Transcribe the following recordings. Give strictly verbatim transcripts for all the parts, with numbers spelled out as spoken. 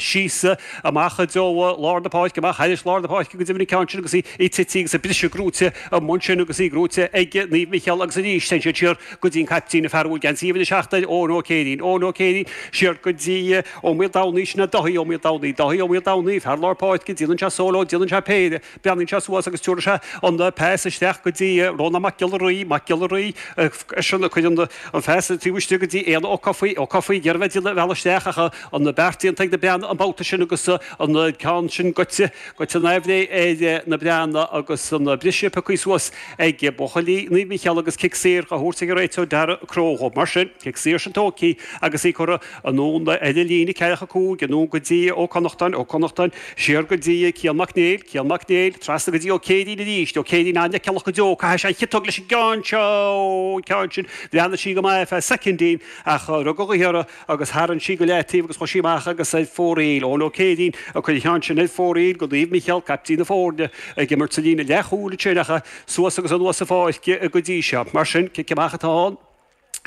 Síos amach i dtreo lár na páirce, amach thairis lár na páirce go deimhin an ceann sin agus í tite agus an briseadh gnóite amuigh ansin agus í gnóite ag Naomh Micheál agus arís téann siad siar go dtí an caiptín, an fear a bhfuil geansaí uimhir a seacht air, Eoin Ó Céirín, Eoin Ó Céirín, siar go dtí Ó Maoldomhnaigh, sin é Dáithí Ó Maoldomhnaigh, Dáithí Ó Maoldomhnaigh, fear lár páirce, déanann sé solo, déanann sé péire, breathnaíonn sé suas agus tabharfaidh sé an pas isteach go dtí Rónán Mac Giolla Rí, Mac Giolla Rí, eisean a chuireann an pas taobh istigh go dtí Éanna Ó Cofaigh, Ó Cofaigh, ag iarraidh a bheith ag déanamh a bhealach isteach ach an beart déanta ag na Breathnaigh an babhta sin agus an ceann sin goite, goite neamhréidh ar na Breathnaigh agus an briseadh pioctha suas ag buachaillí Naomh Mícheál agus cic saor á thabhairt ag an réiteoir Darragh Crowe dhóibh. Mar sin, cic saor sin tógtha agus í curtha anonn ar an líne ceathracha cúig, anonn go dtí Ó Connachtáin, Ó Connachtáin siar go dtí Cian Mac Néill, Cian Mac Néill trasna go dtí Ó Céirín arís, Ó Céirín an-fheiceálach go deo, caithfidh sé an chiotóg leis an gceann seo, an ceann sin, bhreathnaigh sí go maith ar feadh soicindín ach rug an ghaoth uirthi agus tharraing sí go leataobh agus chuaigh sí amach agus ar fóraoil. Eoin Ó Céirín ag cur an cheann sin ar fóraoil go Naomh Micheál, caiptín na foirne, ag imirt sa líne leathchúil ansin ach suas agus anuas an pháirc go dtí seo. Mar sin, cic amach atá ann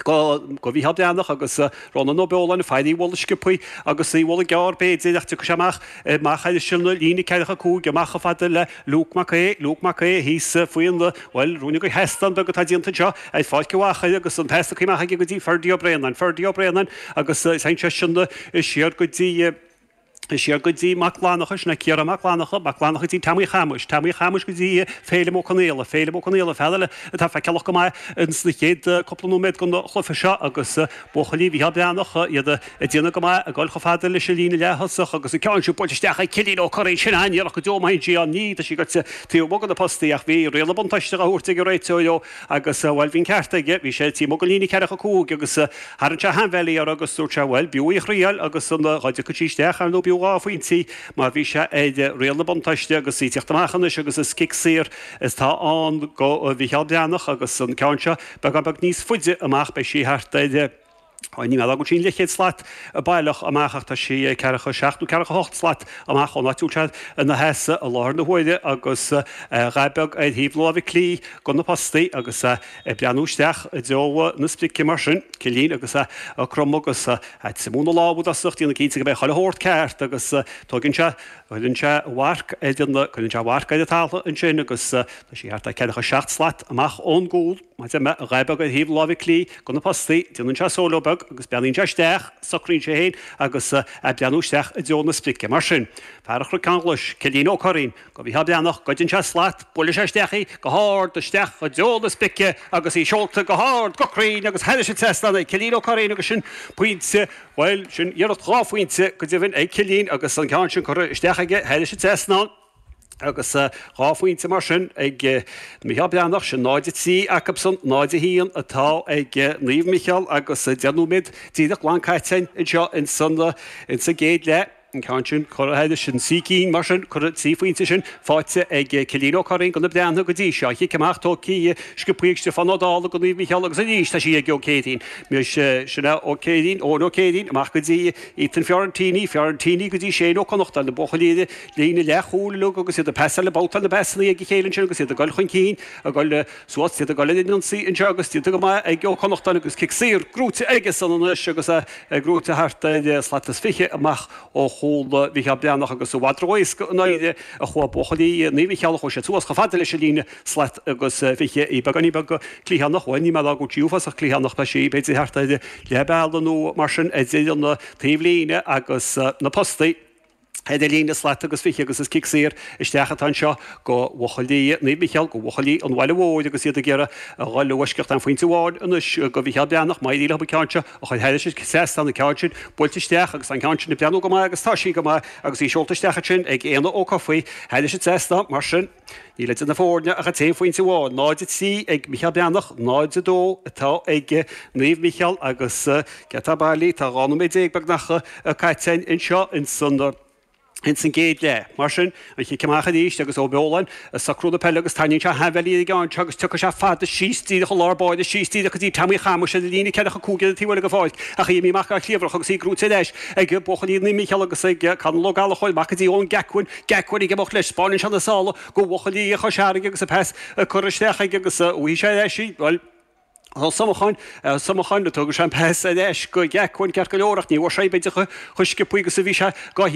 go go Mhícheál Breathnach agus Rónán Ó Beoláin ag faire í a bhualadh sciobthaí agus í a bhualadh gearr b'fhéidir ach tiocfaidh sé amach amach thairis an líne ceathracha cúig amach chomh fada le Luke Mac Aodha, Luke Mac Aodha thíos faoin bhuel, ruainne de sheastán beag atá déanta anseo ar Pháirc an Mhachaire agus an pas tugtha amach aige go dtí Ferdie Ó Braonáin, Ferdie Ó Braonáin agus téann seisean siar go dtí siar go dtí Mac Fhlannchadha, sin é Ciarán Mac Fhlannchadha, Mac Fhlannchadha go dtí Tommy Chamuis, Tommy Chamuis go dtí Féilim Ó Conaola, Féilim Ó Conaola, fear eile atá feiceálach go maith ins na chéad cúpla nóiméad den chluiche seo agus buachaillí Mhícheál Breathnach, iad ag déanamh go maith, ag dul chomh fada leis an líne leath-thosach agus an ceann sin buailte isteach ag Cillian Ó Curraoin, sin an-iarracht go deo maith ansin, ní, tá sí goite taobh amuigh de na postaí ach bhí riail an buntáiste á thabhairt ag an réiteoir dó agus, bhuel, bhí an ceart aige, bhí sé taobh amuigh den líne ceathracha cúig agus tharraing sé a sheanbhealaí uirthi agus dúirt sé, bhuel, b'fhiú í a thriail agus an dá dtiocfadh sí isteach, ar ndóigh, b'fhiú dhá phointe í mar bhí sé ar riail na buntáiste agus í ag teacht amach anois agus is cic saor atá ann go Mhícheál Breathnach agus an ceann seo beagán beag níos faide amach, beidh sí thart ar. Ní mé go bhfuil sí an leathchéad slat baileach amach ach tá sí ceathracha seacht nó ceathracha hocht slat amach ón áit a bhfuil sé ina sheasamh i láthair na huaire agus a dhath beag ar thaobh na láimhe clí de na postaí agus é ag breathnú isteach i dtreo na sprice mar sin, Cillín agus é ag cromadh agus ag triomú na lámha i dtosach, déanamh cinnte go mbeidh chuile shórt ceart agus tógann sé, cuireann sé a mharc ar an, cuireann sé a mharc ar an talamh ansin agus tá sí thart ar ceathracha seacht slat amach ón gcúl. Mar a deir mé, a dhath beag ar thaobh na láimhe clí de na postaí, déanann sé solo beag agus breathnaíonn sé isteach, socraíonn sé féin agus é ag breathnú isteach i dtreo na sprice. Mar sin, fear an Chnoic Ghlais, Cillín Ó Curraoin, go Mhícheál Breathnach, goideann sé slat, buaileann sé isteach í go hard isteach i dtreo na sprice agus í seolta go hard, go cruinn agus thairis an trasnán ag Cillín Ó Curraoin agus sin pointe, bhuel, sin iarracht dhá phointe go deimhin ag Cillín agus an ceann sin curtha isteach aige thairis an trasnán. Agus dhá phointe mar sin ag Mícheál Breathnach, sin náid a trí acusan, náid a haon atá ag Naomh Micheál agus deich nóiméad díreach glan caite anseo ins an gcéad leath. An ceann sin curtha thairis an trí cinn mar sin, curtha trí phointe sin faighte ag Cillín Ó Curraoin do na Breathnaigh go dtí seo. An chic amach tógtha sciobtha ag Stiofán Ó Dálaigh do Naomh Micheál agus arís tá sí ag Ó Céirín. Sin é Ó Céirín, Eoin Ó Céirín amach go dtí Ethan Fiorentini, Fiorentini go dtí Shane Ó Connachta, na buachaillí ar líne leathchúil uilig agus iad ag pasáil, ag babhtáil na bpasanna ag a chéile ansin agus iad ag dul chun cinn, ag dul suas, iad ag dul ar an ionsaí anseo agus déanta go maith ag Ó Connachtáin agus cic saor gnóite aige san anois agus é gnóite thart ar slat is fiche amach ó chúl Mhícheál Breathnach agus i bhfad ró-éasca i ndáiríre a chuaigh buachaillí Naomh Micheál, chuaigh siad suas chomh fada leis an líne slat agus fiche, í beagáinín beag cliathánach, bhuel ní mé a rá go bhfuil sí uafásach cliathánach, tá sí b'fhéidir thart ar leath bealaigh nó mar sin idir an taobhlíne agus na postaí. Ar an líne slat agus fiche agus is cic saor isteach atá anseo go bhuachaillí Naomh Micheál, go bhuachaillí an Bhaile Mhóir agus iad ag iarraidh a dhul i bhfoisceacht aon phointe amháin anois go Mhícheál Breathnach. Má éiríonn leo an ceann seo a chur thairis an trasnán, an ceann sin buailte isteach agus an ceann sin ag breathnú go maith agus tá sí go maith agus í seolta isteach ansin ag Éanna Ó Cofaigh thairis an trasnán. Mar sin, níl idir na foirne ach an t-aon phointe amháin, náid a trí ag Mícheál Breathnach, náid a dó atá ag Naomh Micheál agus cé atá bailí, tá dhá nóiméad déag beagnach caite anseo ins an ins an gcéad leath. Mar sin, an chic amach arís agus Ó Beoláin ag socrú na peile agus tarraingíonn sé a sheanbhealaí ar an gceann seo agus tiocfaidh sé fada síos díreach i lár báire, síos díreach go dtí Tommy Chamuis ar an líne ceathracha cúig ar an taobh eile den pháirc ach í imithe amach ar chliabhrach agus í gnóite ar ais ag buachaillí Naomh Micheál agus ag Conall Ó Gallchóir amach go dtí Eoin Gacquin, Gacquin ag imeacht leis, spáineann sé na sála go bhuachaillí Chois Fharraige agus an pas curtha isteach aige agus uaidh sé ar ais í, bhuel, Ó Somacháin Somacháin tógann sé an pas anois go Jack ceart go leor ach ní bhfuair sé b'fhéidir chomh sciobtha agus a bhí sé go